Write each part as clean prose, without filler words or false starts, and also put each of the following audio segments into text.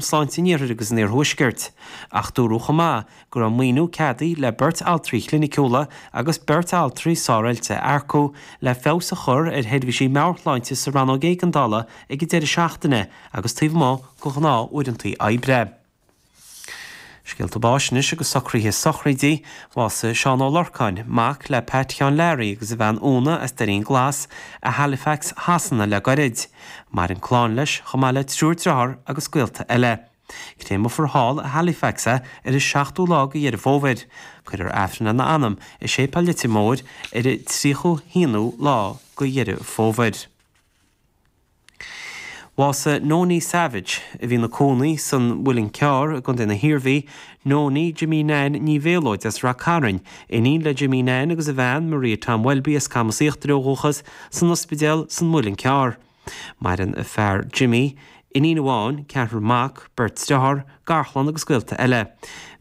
Sláinte an Iarthair agus an Iarthuaiscirt. Ach dúradh chomh maith go raibh maoiniú ceadaithe le beirt altraí cliniciúla agus beirt altraí sároilte a earcú le feabhas a chur ar sheirbhísí meabhairshláinte sa rannóg éigeandála ag an deireadh seachtaine agus taobh amuigh de ghnáth-uaireanta oibre. Scéalta báis anois agus socruithe sochraide. Bhásaigh Seán Ó Lorcáin, mac le Pat Sheáin Learaí agus a bhean Úna as Doirín Glas i Halifax Shasana le goirid. Maireann clann leis, chomh maith le triúr driotháir agus gaolta eile. Créamfar thall i Halifax é ar an seachtú lá de Dheireadh Fómhair. Cuirfear Aifreann lena anam i Séipéal Leitir Móir ar an tríochú haonú lá de Dheireadh Fómhair. Bhásaigh Nonie Savage, a bhí ina cónaí san Mhuileann Cearr i gContae na hIarmhí, Nonie Jimí Nan Ní Mhéalóid as Rath Cairn, iníon le Jimí Nan agus a bhean Maria Tom Welby as Camas Íochtair ó dhúchas, san ospidéal san Mhuileann Cearr. Maireann a fear Jimí, iníon amháin, ceathrar mac, beirt driotháir, garchlann agus gaolta eile.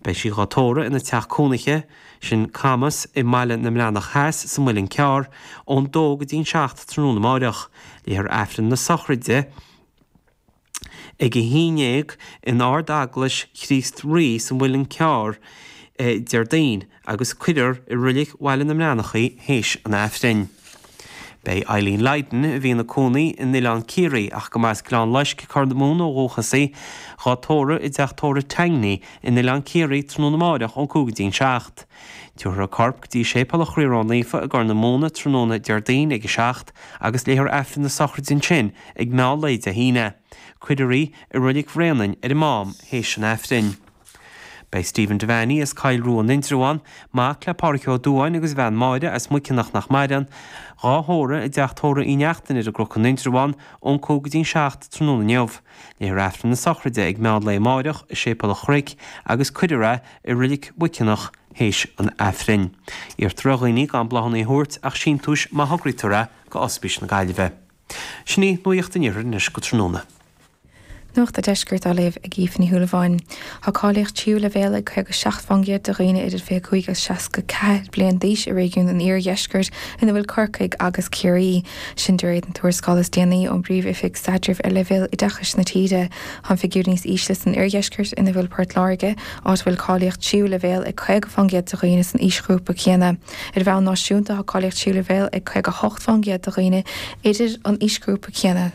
Beidh sí dhá tórramh ina teach cónaithe, sin Camas i mBaile na mBreathnach Theas sa Muileann Cearr, ón dó go dtí an 7 tráthnóna amáireach. Léifear Aifreann na sochraide ag a haon dhéag in Ard-Eaglais Chríost Rí sa Mhuileann Cearr Déardaoin agus cuirfear i Roilig Bhaile na mBreathnach í théis an Aifrinn. Beidh Eileen Lydon, a bhí ina cónaí in Oileán Ciarraí ach go mba as Gleann Loisc, Corr na Mumhan ó dhúchas í, dhá tórramh i dteach tórraimh Tangney in Oileán Ciarraí tráthnóna amáireach ón 5 go dtí an 7. Tabharfar a corp go dtí Séipéal an Chroí Ró-Naofa i gCorr na Móna tráthnóna Déardaoin ag a 7 agus léifear Aifreann na sochraide ansin ag meán lae Dé hAoine. Cuirfear í i Roilig Bhréanainn ar an Mám théis an Aifrinn. Beidh Stephen Devaney as Coill Rua in Indreabhán, mac le Pádhraic Ó Dubháin agus a bhean Máire as Muiceanach nach maireann, dhá thórramh i dteach tórraimh Uí Neachtain ar an gCnoc in Indreabhán ón 5 go dtí an 7 tráthnóna inniu. Léifear Aifreann na sochraide ag meán lae amáireach i Séipéal an Chnoic agus cuirfear é i Roilig Mhuiceanach théis an Aifrinn. Iarrtar ar dhaoine gan bláthanna a thabhairt ach síntiúis má thograítear é go Ospís na Gaillimhe. Sin í Nuacht an Iarthair anois go tráthnóna. Nuacht a' Deiscirt á léamh ag Aoife Ní Shúilleabháin. Tá cáilíocht tríú leibhéal ag 57 fán gcéad de dhaoine idir 25 agus 64 bliain d'aois i réigiún an Iardheiscirt ina bhfuil Corcaigh agus Ciarraí. Sin de réir na tuarascála is déanaí ón bPríomh-Oifig Staidrimh ar leibhéal oideachais na tíre. Tá an figiúr níos ísle san oirdheisceart ina bhfuil Port Láirge, áit a bhfuil cáilíocht tríú leibhéal ag 50 fán gcéad de dhaoine san aoisghrúpa céanna. Ar bhonn náisiúnta tá cáilíocht tríú leibhéal ag 58 fán gcéad de dhaoine idir an aoisghrúpa céanna.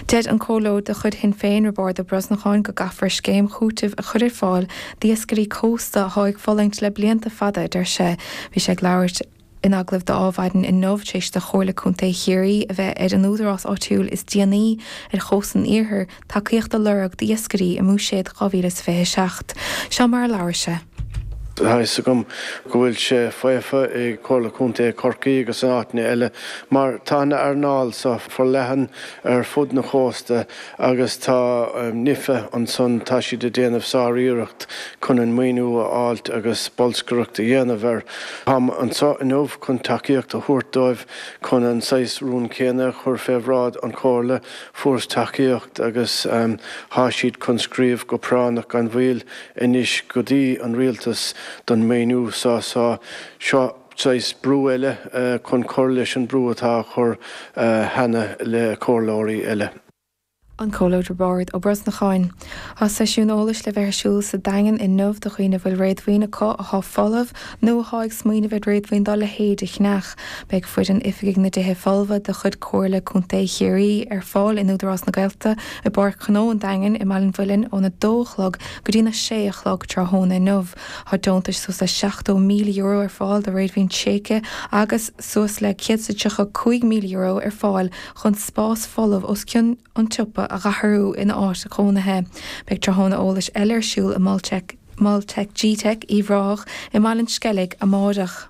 Deir an Comhairleoir de chuid Shinn Féin, Roibeárd Ó Brosnacháin, go gcaithfear scéim chúitimh a chur ar fáil d'iascairí cósta atá ag fulaingt le blianta fada, a deir sé. Bhí sé ag labhairt in agallamh d'Adhmhaidin inniu tar éis do Chomhairle Contae Chiarraí a bheith ar an údarás áitiúil is déanaí ar chósta an iarthair tacaíocht a lorg d'iascairí i mBuiséad 2027. Seo mar a labhair sé. Tá fhios agam go bhfuil sé faofa i Comhairle Contae Chorcaí agus in áiteanna eile mar tá an earnáil seo forleathan ar fud na chósta agus tá NIFA ansan, tá siad ag déanamh sár-iarracht chun an maoiniú a fháilt agus bolscaireacht a dhéanamh air. Táim anso inniu chun tacaíocht a thabhairt dóibh chun an saghas rún céanna a chur fé bhráid an Chomhairle. Fuaireas tacaíocht agus tá siad chun scríobh go práinneach gan mhoill anois go dtí an rialtas don maoiniú seo so seo saghas brú eile chun cur leis an brú atá á chur cheana le comhairleoirí eile. An Comhairleoir Roibeárd Ó Brosnacháin. Tá seisiún eolais le bheith ar siúl sa Daingean inniu do dhaoine a bhfuil réadmhaoin acu atá folamh nó atá ag smaoineamh ar réadmhaoin dá leithéid a cheannach. Beidh foireann Oifigigh na dTithe Folmha de chuid Comhairle Contae Chiarraí ar fáil in Údarás na Gaeltachta i bPáirc Ghnó an Daingin i mBaile an Mhuilinn ón 2 a chlog go dtí'n 6 a chlog tráthnóna inniu. Tá deontais suas le €70,000 ar fáil do réadmhaoin tréigthe agus suas le €135,000 ar fáil chun spás folamh os cionn an tsiopa a dh'athrú ina áit chónaithe. Beidh tráthnóna eolais eile ar siúl i Mol Tech G-Teic Uíbh Ráthach i mBaile an Sceilg amáireach.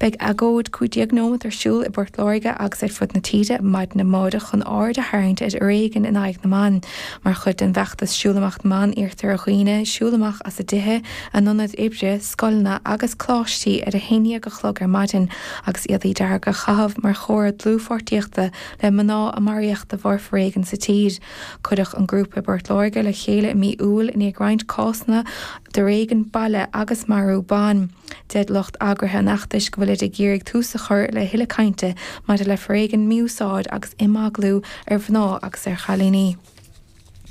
Beidh agóid 15 nóimeat ar siúl i bPort Láirge agus ar fud na tíre maidin amáireach chun aird a tharraingt ar fhoréigean in aghaidh na mban. Mar chuid den bhfeachtas Siúl Amach na mBan iarrtar ar dhaoine siúl amach as a dtithe, a n-ionaid oibre, scoileanna agus coláistí ar a haon dhéag a chlog ar maidin agus éadaí dearga a chaitheamh mar chomhartha dlúthpháirtíochta le mná a maraíodh de bharr foréigin sa tír. Cuireadh an grúpa i bPort Láirge le chéile i mí Iúil i ndiaidh roinnt cásanna d'fhoréigean baile agus marú ban. Deir lucht eagraithe an fheachtais go bhfuilid ag iarraidh tús a chur le thuilleadh cainte maidir le foréigean, mí-úsáid agus imeaglú ar mhná agus ar chailíní.